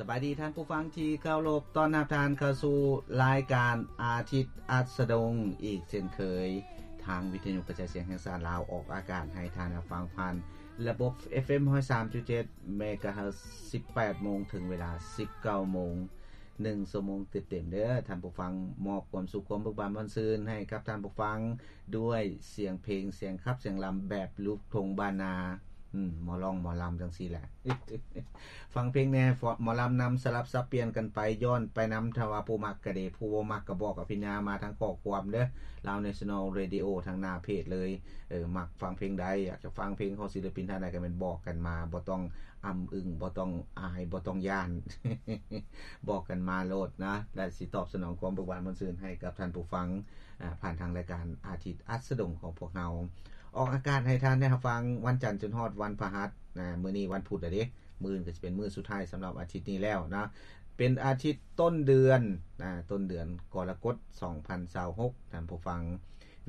ສະບາຍດີທ່ານຜູ້ຟັງທີ່ເຄົາລົບ, ຕ້ອນຮັບທ່ານເຂົ້າສູ່ລາຍການອາທິດອັດສະດົງອີກເຊັ່ນເຄີຍ. ທາງວິທະຍຸກະຈາຍສຽງແຫ່ງຊາດລາວອອກອາກາດໃຫ້ທ່ານຮັບຟັງຜ່ານລະບົບ ເອັຟເອັມ ຮ້ອຍສາມຈຸດເຈັດ ເມກາເຮີດ ສິບແປດໂມງເຖິງເວລາ ສິບເກົ້າໂມງ. ໜຶ່ງຊົ່ວໂມງເຕັມໆເດີທ່ານຜູ້ຟັງ, ມອບຄວາມສຸກຄວາມເບີກບານມ່ວນຊື່ນໃຫ້ກັບທ່ານຜູ້ຟັງ ດ້ວຍສຽງເພງ ສຽງຂັບສຽງລຳແບບລູກທົ່ງບ້ານນາ. ອືມ ໝໍຮ້ອງໝໍລຳຈັ່ງຊີ້ແຫຼະ. ຟັງເພງແດ່ ໝໍລຳນຳ ສະຫຼັບສັບປ່ຽນກັນໄປ ຍ້ອນໄປນຳ. ຖ້າວ່າຜູ້ມັກກະດີ ຜູ້ບໍ່ມັກກະບອກອະພິນຍາມາທາງຂໍ້ຄວາມເດີ Lao National Radio ທາງໜ້າເພຈເລີຍ. ເອີ ມັກຟັງເພງໃດ ຢາກຈະຟັງເພງຂອງສິນລະປິນທ່ານໃດ ກະແມ່ນບອກກັນມາ ບໍ່ຕ້ອງ ອຳອຶງ ບໍ່ຕ້ອງອາຍ ບໍ່ຕ້ອງຢ້ານ ບອກກັນມາໂລດນະ ແລະ ຊິຕອບສະໜອງຄວາມເບີກບານມ່ວນຊື່ນໃຫ້ກັບທ່ານຜູ້ຟັງ ອາ ຜ່ານທາງລາຍການອາທິດອັດສະດົງຂອງພວກເຮົາ. ອອກອາກາດໃຫ້ທ່ານໄດ້ຮັບຟັງວັນຈັນຈົນຮອດວັນພະຫັດ. ອາ ມື້ນີ້ວັນພຸດແລ້ວເດ້, ມື້ອື່ນກໍຊິເປັນມື້ສຸດທ້າຍສຳລັບອາທິດນີ້ແລ້ວນະ. ເປັນອາທິດຕົ້ນເດືອນ ອາ ຕົ້ນເດືອນກໍລະກົດ ສອງພັນຊາວຫົກ ທ່ານຜູ້ຟັງ.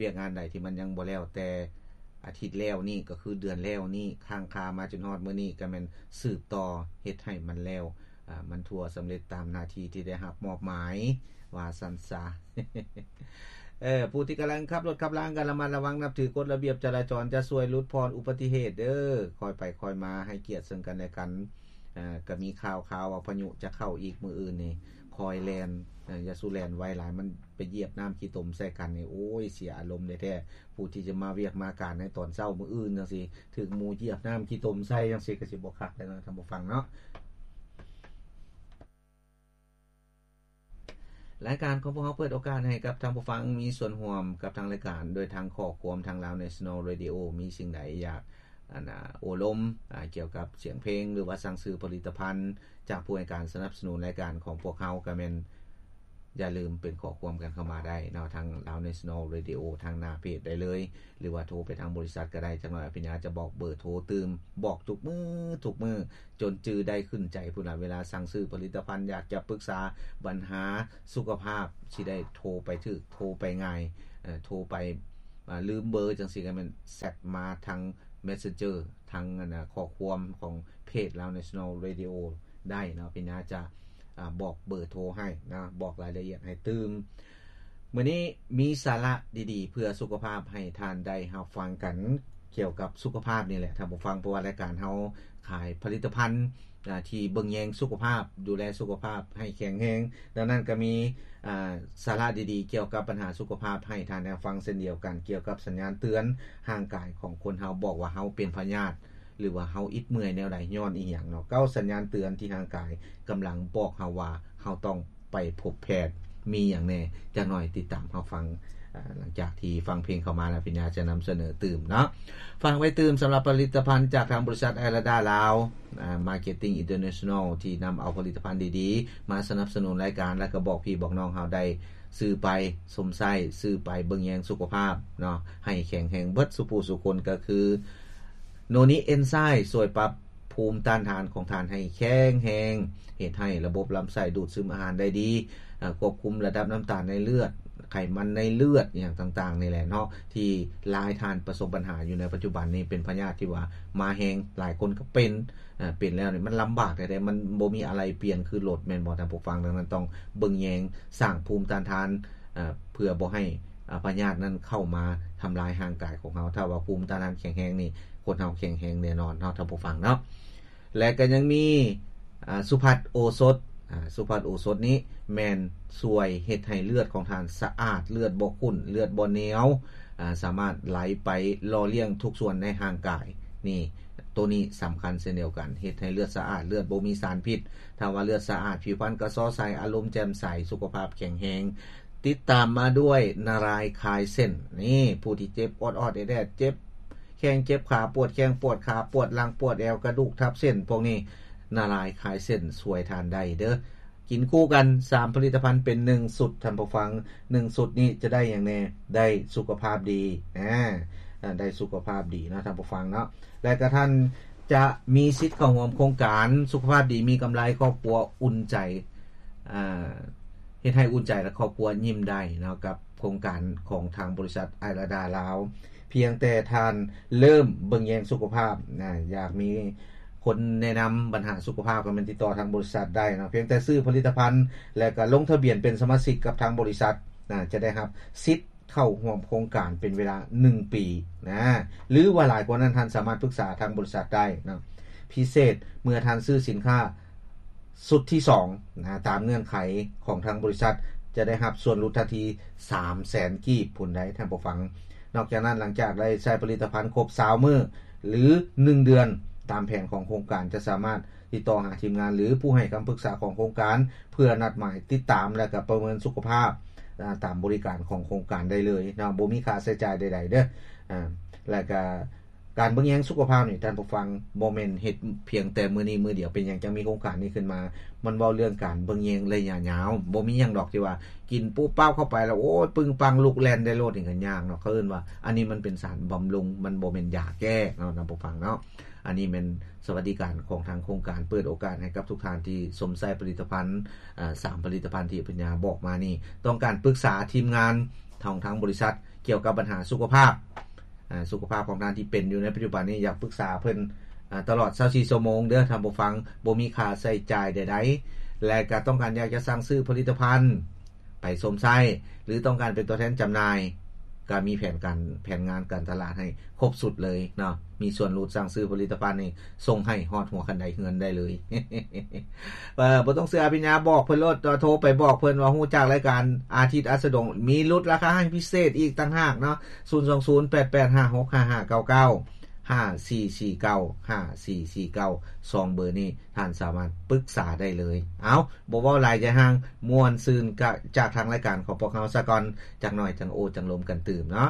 ວຽກງານໃດທີ່ມັນຍັງບໍ່ແລ້ວແຕ່ອາທິດແລ້ວນີ້ ກໍຄືເດືອນແລ້ວນີ້ ຄ້າງຄາມາຈົນຮອດມື້ນີ້ ກໍແມ່ນສືບຕໍ່ເຮັດໃຫ້ມັນແລ້ວ ອາ ມັນທົ່ວສຳເລັດຕາມໜ້າທີ່ທີ່ໄດ້ຮັບມອບໝາຍ ວ່າຊັ້ນຊະ. ເອີ ຜູ້ທີ່ກຳລັງຂັບລົດຂັບລາ ກໍລະມັດລະວັງ ນັບຖືກົດລະບຽບຈະລາຈອນ ຈະຊ່ວຍຫຼຸດຜ່ອນອຸບັດຕິເຫດເດີ. ຄ່ອຍໄປຄ່ອຍມາ ໃຫ້ກຽດເຊິ່ງກັນແລະກັນ. ເອີ ກໍມີຂ່າວຄາວວ່າພາຍຸຈະເຂົ້າອີກມື້ອື່ນນີ້ ຄ່ອຍແລ່ນ ເອີ ຢ່າສູ່ແລ່ນໄວຫຼາຍ ມັນໄປຢຽບນ້ຳຂີ້ຕົມໃສ່ກັນນີ້ ໂອ້ຍ ເສຍອາລົມແທ້ໆ. ຜູ້ທີ່ຈະມາວຽກມາການໃນຕອນເຊົ້າມື້ອື່ນຈັ່ງຊີ້ ຖືກໝູຢຽບນ້ຳຂີ້ຕົມໃສ່ຈັ່ງຊີ້ ກໍຊິບໍ່ຄັກແລ້ວເນາະ ທ່ານຜູ້ຟັງເນາະ. ລາຍການຂອງພວກເຮົາເປີດໂອກາດໃຫ້ກັບທ່ານຜູ້ຟັງມີສ່ວນຮ່ວມກັບທາງລາຍການ ໂດຍທາງຂໍ້ຄວາມທາງ Lao National Radio ມີສິ່ງໃດຢາກ ອັນ ອາ ໂອ້ລົມ ອາ ກ່ຽວກັບສຽງເພງ ຫຼືວ່າສັ່ງຊື້ຜະລິດຕະພັນຈາກຜູ້ໃຫ້ການສະໜັບສະໜູນລາຍການຂອງພວກເຮົາ ກໍແມ່ນຢ່າລືມເປັນຂໍ້ຄວາມກັນເຂົ້າມາໄດ້ເນາະ ທາງ Lao National Radio ທາງໜ້າເພຈໄດ້ເລີຍ ຫຼືວ່າໂທໄປທາງບໍລິສັດກໍໄດ້. ຈັກໜ້ອຍອະພິນຍາຈະບອກເບີໂທຕື່ມ ບອກທຸກມື້ ທຸກມື້ ຈົນຈື່ໄດ້ຂຶ້ນໃຈພຸ້ນລະ. ເວລາສັ່ງຊື້ຜະລິດຕະພັນ ຢາກຈະປຶກສາບັນຫາສຸຂະພາບ ຊິໄດ້ໂທໄປຖືກ ໂທໄປງ່າຍ ເອີ ໂທໄປ ອາ ລືມເບີຈັ່ງຊີ້ ກໍແມ່ນແຊັດມາທາງ Messenger ທາງ ອັນ ອາ ຂໍ້ຄວາມຂອງເພຈ Lao National Radio ໄດ້ເນາະ. ອະພິນຍາຈະ ອາ ບອກເບີໂທໃຫ້ນະ ບອກລາຍລະອຽດໃຫ້ຕື່ມ. ມື້ນີ້ມີສາລະດີໆເພື່ອສຸຂະພາບໃຫ້ທ່ານໄດ້ຮັບຟັງກັນ ກ່ຽວກັບສຸຂະພາບນີ້ແຫຼະທ່ານຜູ້ຟັງ, ເພາະວ່າລາຍການເຮົາຂາຍຜະລິດຕະພັນ ອາ ທີ່ເບິ່ງແຍງສຸຂະພາບ, ດູແລສຸຂະພາບໃຫ້ແຂງແຮງ. ດັ່ງນັ້ນກໍມີ ອາ ສາລະດີໆກ່ຽວກັບບັນຫາສຸຂະພາບໃຫ້ທ່ານໄດ້ຟັງເຊັ່ນດຽວກັນ, ກ່ຽວກັບສັນຍານເຕືອນຮ່າງກາຍຂອງຄົນເຮົາ ບອກວ່າເຮົາເປັນພະຍາດ ຫຼືວ່າເຮົາອິດເມື່ອຍແນວໃດ ຍ້ອນອີ່ຫຍັງເນາະ. ເກົ້າສັນຍານເຕືອນທີ່ຮ່າງກາຍກຳລັງບອກເຮົາວ່າເຮົາຕ້ອງໄປພົບແພດ ມີຫຍັງແດ່? ຈັກໜ້ອຍຕິດຕາມຮັບຟັງ ອາ ຫຼັງຈາກທີ່ຟັງເພງເຂົ້າມາແລ້ວ ພິນຍາຈະນຳສະເໜີຕື່ມເນາະ. ຝາກໄວ້ຕື່ມສຳລັບຜະລິດຕະພັນຈາກທາງບໍລິສັດໄອລາດາລາວ ອາ Marketing International ທີ່ນຳເອົາຜະລິດຕະພັນດີໆມາສະໜັບສະໜູນລາຍການ ແລະກໍບອກພີ່ບອກນ້ອງເຮົາໄດ້ຊື້ໄປ ຊົມໃຊ້ ຊື້ໄປເບິ່ງແຍງສຸຂະພາບເນາະ ໃຫ້ແຂງແຮງເບິດສູ່ຜູ້ສູ່ຄົນ ກໍຄືໂນນິເອັນໄຊ ຊ່ວຍປັບ ພູມຕ້ານທານຂອງທ່ານໃຫ້ແຂງແຮງ, ເຮັດໃຫ້ລະບົບລຳໄສ້ດູດຊຶມອາຫານໄດ້ດີ, ອາ ຄວບຄຸມລະດັບນ້ຳຕານໃນເລືອດ, ໄຂມັນໃນເລືອດ ອີ່ຫຍັງຕ່າງໆນີ້ແຫຼະເນາະ ທີ່ຫຼາຍທ່ານປະສົບບັນຫາຢູ່ໃນປັດຈຸບັນນີ້ ເປັນພະຍາດທີ່ວ່າມາແຮງ, ຫຼາຍຄົນກໍເປັນ, ອາ ເປັນແລ້ວນີ້ມັນລຳບາກແທ້ໆ, ມັນບໍ່ມີອາໄລປ່ຽນຄືລົດ ແມ່ນບໍ່ທ່ານຜູ້ຟັງ? ດັ່ງນັ້ນຕ້ອງເບິ່ງແຍງ ສ້າງພູມຕ້ານທານ ເພື່ອບໍ່ໃຫ້ ອາ ພະຍາດນັ້ນເຂົ້າມາທຳລາຍຮ່າງກາຍຂອງເຮົາ. ຖ້າວ່າພູມຕ້ານທານແຂງແຮງນີ້ ຄົນເຮົາແຂງແຮງແນ່ນອນເນາະ ທ່ານຜູ້ຟັງເນາະ. ແລະກໍຍັງມີ ອາ ສຸພັດໂອສົດ, ອາ ສຸພັດໂອສົດນີ້ແມ່ນຊ່ວຍເຮັດໃຫ້ເລືອດຂອງທ່ານສະອາດ, ເລືອດບໍ່ຂຸ້ນ, ເລືອດບໍ່ໜຽວ, ອາ ສາມາດໄຫຼໄປຫຼໍ່ລ້ຽງທຸກສ່ວນໃນຮ່າງກາຍ. ນີ້ ໂຕນີ້ສຳຄັນເຊັ່ນດຽວກັນ, ເຮັດໃຫ້ເລືອດສະອາດ, ເລືອດບໍ່ມີສານພິດ. ຖ້າວ່າເລືອດສະອາດ, ຜິວພັນກະຊໍໃສ, ອາລົມແຈ່ມໃສ, ສຸຂະພາບແຂງແຮງ. ຕິດຕາມມາດ້ວຍນາລາຍຄາຍເສັ້ນ. ນີ້ ຜູ້ທີ່ເຈັບອອດໆແອດໆ, ເຈັບແຂ້ງເຈັບຂາ, ປວດແຂ້ງປວດຂາ, ປວດຫຼັງປວດແອວ, ກະດູກທັບເສັ້ນ, ພວກນີ້ນາລາຍຄາຍເສັ້ນຊ່ວຍທ່ານໄດ້ເດີ. ກິນຄູ່ກັນສາມຜະລິດຕະພັນເປັນໜຶ່ງຊຸດ, ທ່ານຜູ້ຟັງ, ໜຶ່ງຊຸດນີ້ຈະໄດ້ຫຍັງແດ່? ໄດ້ສຸຂະພາບດີ, ອາ, ໄດ້ສຸຂະພາບດີເນາະ ທ່ານຜູ້ຟັງເນາະ. ແລະກະທ່ານຈະມີສິດເຂົ້າຮ່ວມໂຄງການສຸຂະພາບດີມີກຳໄລ, ຄອບຄົວອຸ່ນໃຈ, ອາ, ເຮັດໃຫ້ອຸ່ນໃຈ ແລະ ຄອບຄົວຍິ້ມໄດ້ເນາະ ກັບໂຄງການຂອງທາງບໍລິສັດໄອລາດາລາວ. ພຽງແຕ່ທ່ານເລີ່ມເບິ່ງແຍງສຸຂະພາບນະ, ຢາກມີ ຄົນແນະນຳບັນຫາສຸຂະພາບ ກໍແມ່ນຕິດຕໍ່ທາງບໍລິສັດໄດ້ເນາະ. ພຽງແຕ່ຊື້ຜະລິດຕະພັນ ແລ້ວກໍລົງທະບຽນເປັນສະມາຊິກກັບທາງບໍລິສັດນະ ຈະໄດ້ຮັບສິດເຂົ້າຮ່ວມໂຄງການເປັນເວລາໜຶ່ງປີນະ ຫຼືວ່າຫຼາຍກວ່ານັ້ນ ທ່ານສາມາດປຶກສາທາງບໍລິສັດໄດ້ເນາະ. ພິເສດ ເມື່ອທ່ານຊື້ສິນຄ້າຊຸດທີສອງນະ ຕາມເງື່ອນໄຂຂອງທາງບໍລິສັດ ຈະໄດ້ຮັບສ່ວນຫຼຸດທັນທີສາມແສນກີບພຸ້ນໃດ໋ ທ່ານຜູ້ຟັງ. ນອກຈາກນັ້ນ ຫຼັງຈາກໄດ້ໃຊ້ຜະລິດຕະພັນຄົບຊາວມື້ ຫຼື ໜຶ່ງເດືອນ ຕາມແຜນຂອງໂຄງການ ຈະສາມາດຕິດຕໍ່ຫາທີມງານ ຫຼື ຜູ້ໃຫ້ຄຳປຶກສາຂອງໂຄງການ ເພື່ອນັດໝາຍຕິດຕາມ ແລະ ກະປະເມີນສຸຂະພາບ ອາ ຕາມບໍລິການຂອງໂຄງການໄດ້ເລີຍເນາະ ບໍ່ມີຄ່າໃຊ້ຈ່າຍໃດໆເດີ. ອາ ແລະ ກະການເບິ່ງແຍງສຸຂະພາບນີ້ ທ່ານຜູ້ຟັງ ບໍ່ແມ່ນເຮັດພຽງແຕ່ມື້ນີ້ມື້ດຽວ. ເປັນຫຍັງຈັ່ງມີໂຄງການນີ້ຂຶ້ນມາ? ມັນເວົ້າເລື່ອງການເບິ່ງແຍງໄລຍະຍາວ ບໍ່ມີຫຍັງດອກທີ່ວ່າກິນປຸບປັບເຂົ້າໄປແລ້ວ ໂອ້ຍ ປຶງປັງລຸກແລ່ນໄດ້ໂລດ ນີ້ກໍຍາກເນາະ. ເຂົາເອີ້ນວ່າ ອັນນີ້ມັນເປັນສານບຳລຸງ ມັນບໍ່ແມ່ນຢາແກ້ເນາະ ທ່ານຜູ້ຟັງເນາະ. ອັນນີ້ແມ່ນສະຫວັດດີການຂອງທາງໂຄງການ ເປີດໂອກາດໃຫ້ກັບທຸກທ່ານທີ່ຊົມໃຊ້ຜະລິດຕະພັນ ອາ ສາມຜະລິດຕະພັນທີ່ອາພິນຍາບອກມານີ້ ຕ້ອງການປຶກສາທີມງານຂອງທາງບໍລິສັດກ່ຽວກັບບັນຫາສຸຂະພາບ ອາ ສຸຂະພາບຂອງທ່ານທີ່ເປັນຢູ່ໃນປັດຈຸບັນນີ້ ຢາກປຶກສາເພິ່ນ ອາ ຕະຫຼອດຊາວສີ່ຊົ່ວໂມງເດີ ທ່ານຜູ້ຟັງ ບໍ່ມີຄ່າໃຊ້ຈ່າຍໃດໆ. ແລະ ກະຕ້ອງການຢາກຈະສັ່ງຊື້ຜະລິດຕະພັນ ໄປຊົມໃຊ້ ຫຼື ຕ້ອງການເປັນຕົວແທນຈຳໜ່າຍ ກໍມີແຜນການ ແຜນງານການຕະຫຼາດໃຫ້ຄົບຊຸດເລີຍເນາະ. ມີສ່ວນຫຼຸດສັ່ງຊື້ຜະລິດຕະພັນນີ້ ສົ່ງໃຫ້ຮອດຫົວຄັນໄດເຮືອນໄດ້ເລີຍ. ເອີ ບໍ່ຕ້ອງເຊື່ອອາພິນຍາ ບອກເພິ່ນໂລດ ໂທໄປບອກເພິ່ນວ່າຮູ້ຈັກລາຍການອາທິດອັດສະດົງ ມີຫຼຸດລາຄາໃຫ້ພິເສດອີກຕ່າງຫາກເນາະ. ສູນສອງສູນ ແປດແປດຫ້າຫົກ ຫ້າຫ້າເກົ້າເກົ້າ ຫ້າສີ່ສີ່ເກົ້າ ຫ້າສີ່ສີ່ເກົ້າ ສອງເບີນີ້ ທ່ານສາມາດປຶກສາໄດ້ເລີຍ. ເອົ້າ ບໍ່ເວົ້າຫຼາຍໃຈຫ່າງ ມ່ວນຊື່ນກະຈາກທາງລາຍການຂອງພວກເຮົາສາກ່ອນ ຈັກໜ່ອຍຈັ່ງໂອ້ຈັ່ງລົມກັນຕື່ມເນາະ.